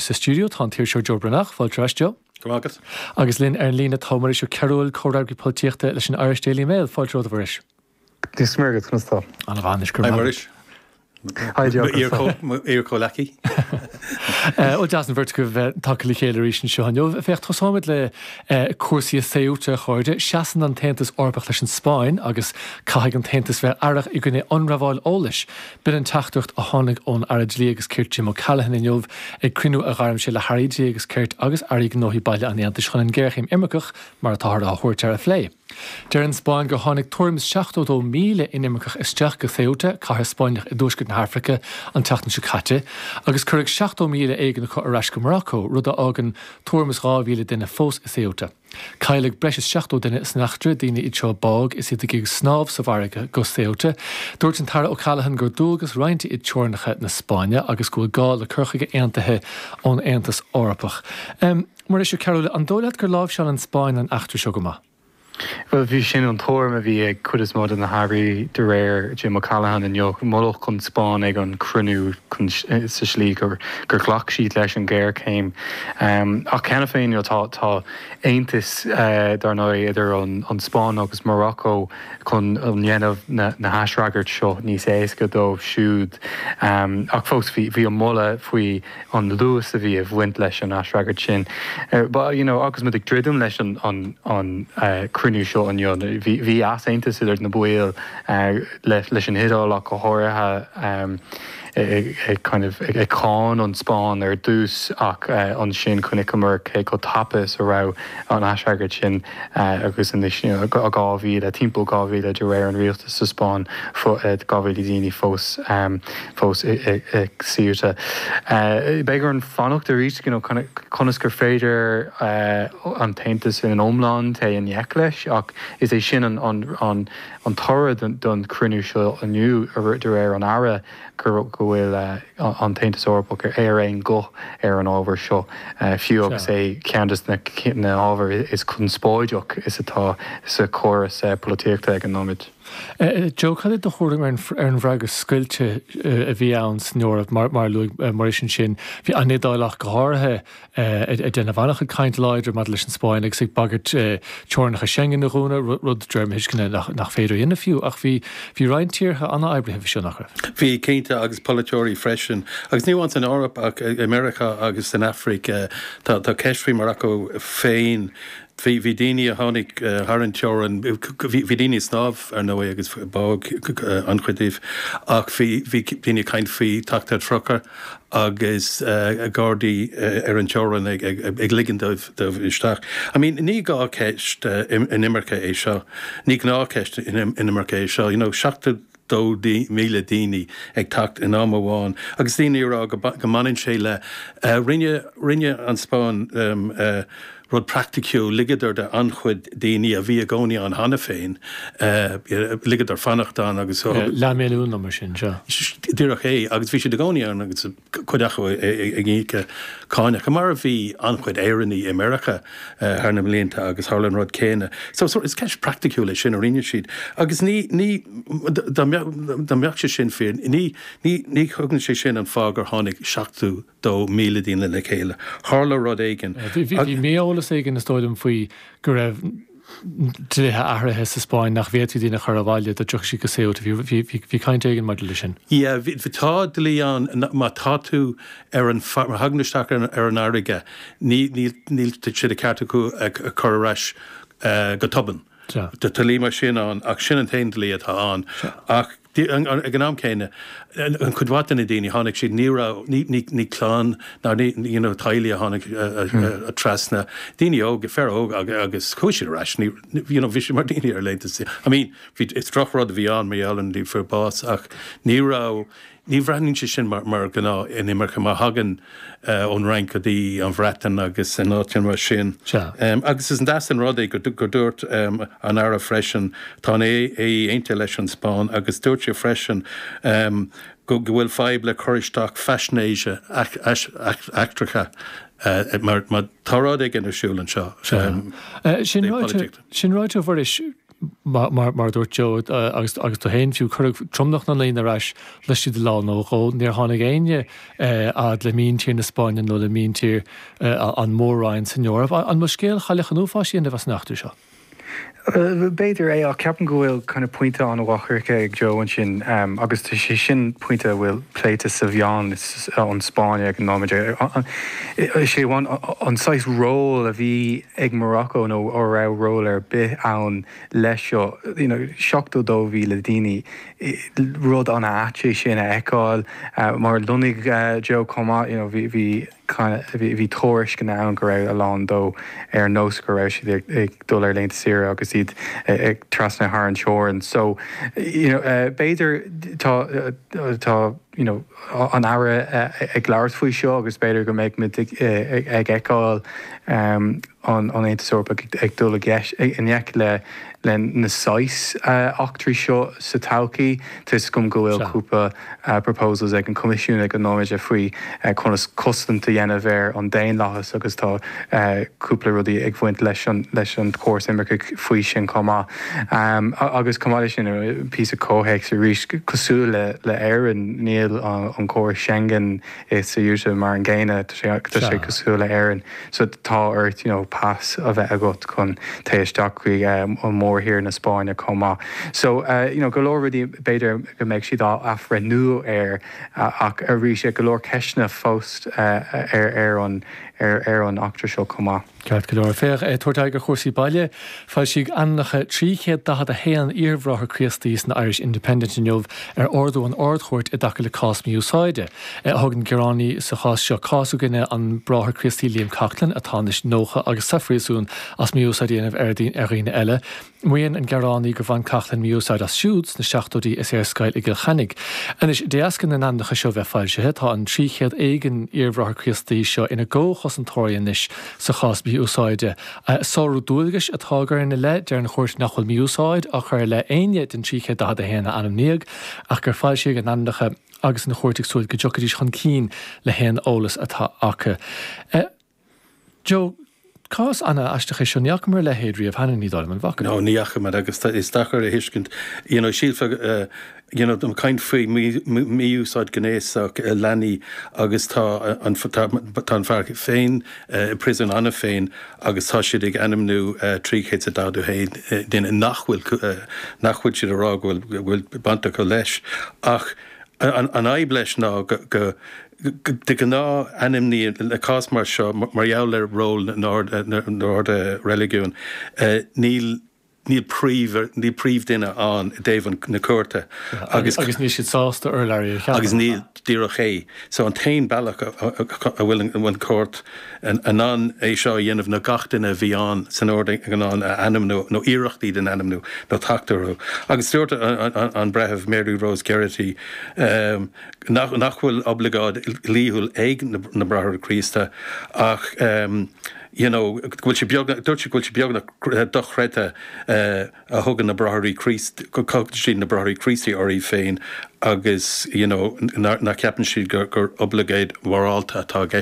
Sa stiúideo tá an t-iriseoir Joe Breathnach, fáilte ar ais Joe. Go raibh maith agat. Agus linn ar an líne tá Muiris Ó Cearúil, comhfhreagraí polaitíochta leis an Irish Daily Mail. Fáilte romhat a Mhuiris. Dia is Muire agat, conas tá? Ana mhaith anois, go raibh Hi Muiris. Hi Joe, conas tá? Mo iar-chomhleacaí. Bhuel deas an bheirt agaibh bheith tagtha le chéile arís anseo inniu. Féach, tosóimid le cúrsaí i Ceuta, a chairde. Seasann an tAontas Eorpach leis an Spáinn agus caithfidh an tAontas bheith aireach i gcoinne ionramháil eolais. B'in an teachtaireacht a tháinig ón Aire Dlí agus Cirt Jim O'Callaghan inniu ag cruinniú a ghairm sé le hAirí Dlí agus Cirt agus Airí Gnóthaí Baile an Aontais chun an ghéarchéim imirceach, mar atáthar á thabhairt air, a phlé. Deir an Spáinn gur tháinig tuairim is 72,000 inimirceach isteach go Ceuta, cathair Spáinneach i dtuaisceart na hAfraice, an tseachtain seo caite, agus cuireadh 70,000 éigin acu ar ais go Morocco, rud a fhágann tuairim is 2,000 duine fós i Ceuta. Cailleadh breis is 70 duine san eachtra, daoine iad seo a bádh is iad ag iarraidh snámh sa bhfarraige go Ceuta. Dúirt an tAire O'Callaghan gur dualgas roinnte iad teorainneacha na Spáinne agus go bhfuil gá le cur chuige aontaithe ón Aontas Eorpach. Muiris Ó Cearúil, an dóigh leat gur láimhseáil an Spáinn an eachtra seo go maith? Bhuel, bhí sin an tuairim a bhí ag cuid is mó de na hairí de réir Jim O'Callaghan inniu. Moladh an Spáinn ag an cruinniú sa slí gur ghlac siad leis an ghéarchéim. Ach cheana féin tá tá aontas dar ndóigh idir an Spáinn agus Morocco chun dhéanamh na haisfhreagairt seo níos éasca dóibh siúd. Ach fós bhí an moladh faoi an luas a bhí ag bhaint leis an aisfhreagairt sin. But you know agus muid ag druidim leis an an cruinniú seo inniu, bhí bhí easaontas idir na baill leis an Iodáil ach go háirithe ag kind of ag cáineadh an Spáinn ar dtús ach ansin chonaiceamar cé chomh tapa is a raibh an aisfhreagairt sin agus anois you know 2,000, timpeall 2,000 de réir an rialtais sa Spáinn, 2,000 daoine fós. fós i Ceuta. Beidh orainn fanacht arís you know conas gur féidir an tAontas ina iomlán téigh i ngleic leis ach is é sin an toradh don chruinniú seo inniu de réir an Aire go bhfuil an tAontas Eorpach ar aon ghuth ar an ábhar seo fiú agus é ceann de na hábhair is conspóideach is atá sa chóras polaitíochta ag an nóiméad. Joe, cad é do thuairim ar an bhfreagra scoilte a bhí ann san Eoraip, mar a luaigh Muiris ansin? Bhí an Iodáil ach go háirithe ag déanamh an-chuid caint láidir maidir leis an Spáinn agus ag bagairt teorainneacha Schengen a dhúnadh, rud, de réir mo thuisceana, nach féidir a dhéanamh fiú. Ach bhí roinnt tíortha an-oibrithe faoi seo, nach raibh? Bhí, cinnte, agus polaiteoirí freisin. Agus ní amháin san Eoraip ach i Meiriceá agus san Afraic. Tá ceist faoi Morocco féin. Bhí daoine a tháinig thar an teorainn, bhí daoine ag snámh ar ndóigh agus bádh an-chuid díobh ach bhí daoine ag caint faoi teacht ar trucail agus gardaí ar an teorainn ag ligean dóibh isteach. I mean ní gnáthcheist inimirce é seo, ní gnáthcheist inimirce é seo, you know 72,000 daoine ag teacht in am amháin agus daoine ag rá go mbaineann sé le, rinne, rinne an Spáinn Rud praiticiúil, ligeadar do an-chuid daoine a bhí i gcónaí ann cheana féin, ligeadar fanacht ann agus. Leathmhilliún nó mar sin, sea. Díreach é, agus bhí siad i gcónaí ann agus cuid acu ag íoc cánacha, mar a bhí an-chuid Éireannaigh i Meiriceá thar na mblianta agus tharla an rud céanna. So is ceist praiticiúil é sin a rinne siad. Agus ní, ní, dá mbeadh sé sin fíor, ní, ní, ní thugann sé sin an fáth gur tháinig 70. 2,000 daoine le chéile. Tharla rud éigin. Bhí mí-eolas éigin, is dóigh liom, faoi go raibh dlíthe athraithe sa Spáinn nach bhféadfaí daoine a chur abhaile dá dtiocfadh siad go Ceuta. Bhí caint éigin maidir leis sin. Yeah, tá dlí ann má tá tú ar an, má thagann tú isteach ar an fharraige, níl sé de cheart acu a chur ar ais go tobann. Tá dlí mar sin ann ach sin an t-aon dlí atá ann. Ach ag an am céanna, an chuid mhaith de na daoine, tháinig siad, ní raibh, ní, ní, ní clann ná ní, you know, teaghlaigh a tháinig trasna, daoine óga, fir óga agus chuaigh siad ar ais, ní, you know, bhí siad mar daoine ar laethanta saoire. I mean, bhí, is drochrud a bhí ann mar gheall ar na daoine a fuair bás ach ní raibh, Ní bhreathnaíonn sé sin mar ghnáth inimirce mar thagann ón Fhrainc go dtí an Bhreatain agus in áiteanna mar sin. Agus is deas an rud é gur dúirt an Aire freisin, tá an AE aontaithe leis an Spáinn agus dúirt sé freisin go bhfuil fadhb le cur isteach faisnéise eachtracha mar tá rud éigin ar siúl anseo. Sin ráite, a Mhuiris. Mar a dúirt Joe agus tú féin fiú, cuireadh tromlach na ndaoine ar ais laistigh de lá nó dhó. Níor tháinig éinne fhad le míntír na Spáinne nó le míntír an Mhór-Roinn san Eoraip. An bhfuil scéal Chailleach an Uafáis á dhéanamh as an eachtra seo? B'fhéidir é, ach ceapaim go bhfuil kind of pointe an-mhaith curtha ag Joe ansin agus tá sé sin pointe a bhfuil pléite sa mheáin ón Spáinn ag an nóiméad. Is é an saghas ról a bhí ag Morocco nó a raibh ról ar bith ann leis seo, you know, 72,000 daoine, rud an-ait é sin a fheiceáil. Mar a luaigh Joe chomh maith, you know, bhí, bhí, bhí tuairisceanna ann go raibh a lán dó ar nós go raibh siad ag dul ar laethanta saoire agus iad ag trasna thar an teorainn. So, you know, b'fhéidir tá, tá, you know, an Aire ag labhairt faoi seo agus b'fhéidir go mbeidh muid ag fheiceáil an Aontas Eorpach ag dul i ngleic le na saghas eachtraí seo sa todhchaí. Tá 'fhios agam go bhfuil cúpla proposals ag an Coimisiún ag an nóiméad faoi conas cosaint a dhéanamh ar an daonlathas agus tá cúpla rudaí ag bhaint leis an leis an chóras imirce faoi sin chomh maith. Agus chomh maith leis sin, píosa comhthéacs arís, cosúil le le Éirinn, níl an córas Schengen i Ceuta mar an gcéanna, tá sé tá sé cosúil le Éirinn. So tá ort you know pas a bheith agat chun téigh isteach chuig an mórthír na Spáinne chomh maith. So you know go leor rudaí b'fhéidir go mbeidh siad á athbhreithniú air ach arís go leor ceisteanna fós ar ar an ar ar an eachtra seo chomh maith. Ceart go leor. Féach, ag tabhairt aghaidh ar chúrsaí baile, foilsíodh ainmneacha 341 iar-bhráthair Críostaí san Irish Independent inniu ar ordú an Ard-Chúirt i dtaca le cás mí-úsáide. Thug an gearánaí sa chás seo cás i gcoinne an Bráthair Críostaí Liam Coughlan, atá anois 90 agus sa phríosún as mí-úsáid a dhéanamh ar dhaoine eile. Maíonn an gearánaí gur bhain Coughlan mí-úsáid as siúd sna seachtóidí is é ar scoil i gCill Chainnigh. Anois, de dheasca na n-ainmneacha seo bheith foilsithe, tá an 300 éigin iar-bhráthair Críostaí seo ina gcomhchosantóirí anois sa chás mí-úsáide. Sárú dualgais atá á gcur ina leith, deir an chúirt nach bhfuil mí-úsáid á chur i leith éinne den 341 a ainmníodh ach gur foilsíodh a n-ainmneacha agus an chúirt ag súil go dtiocfaidís chun cinn le haon eolas atá acu. Joe, cás ana-aisteach é seo, ní fhacamar a leithéid riamh cheana, ní dóigh liom, an bhfaca? No, ní fhacamar agus is deacair a thuiscint, you know, sílfeá, you know, caint faoi mí-úsáid ghnéasach leanaí agus tá an, tá an fear féin i prison cheana féin agus tá siad ag ainmniú 341 duine nach bhfuil, nach bhfuil siad ag rá go bhfuil, go bhfuil baint acu leis ach an fhadhb leis ná go, go, De ghnáth, ainmníonn, le cás mar seo, mar gheall ar ról na n-ord reiligiúin, níl níl príomh níl príomhdhuine ann i dtaobh an na cúirte agus Agus níl siad sásta urlabhraí a cheapadh. Agus níl, díreach é. So an t-aon bealach a bhfuil an bhfuil an chúirt in ann é seo a dhéanamh ná gach duine a bhí ann san ord in ann a ainmniú nó iarracht iad a ainmniú nó teacht orthu. Agus dúirt an breitheamh Mary Rose Geraghty, nach nach bhfuil oibleagáid dhlíthiúil ag na Bráithre Críosta ach you know go bhfuil sé beagnach, dúirt sé go bhfuil sé beagnach dochreidte a thugann na Bráithre Críost, go dtugann siad na Bráithre Críostaí orthu féin agus you know nach gceapann siad gur gur oibleagáid mhorálta atá i gceist.